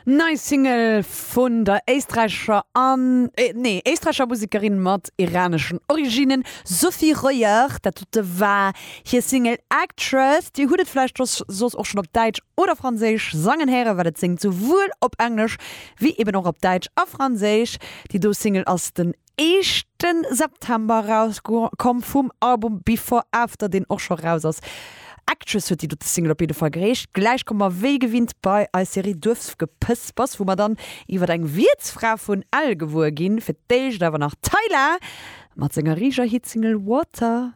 Nei Single vun der éisträichescher an, nee, éisträichescher Musekerin mat iraneschen Originnen, Sophie Royer. Dat dote war hir Single Actress. Dir hutt et vläicht soss och schonn op Däitsch oder Franséisch sangen héieren, well et séngt souwuel op Englesch wéi eben och op Däitsch a Franséisch. Déi do Single ass den éischte September erauskomm vum Album Before After, deen och scho raus ass. Actress huet déi dote Single op jidde Fall geheescht. Gläich komme mer wéi gewinnt bei eis Serie Duerfgepëspers, wou mer dann iwwer eng Wiertsfra vun Ell gewuer ginn. Fir d'éischt awer nach Tyla mat senger riiger Hitsingle Water.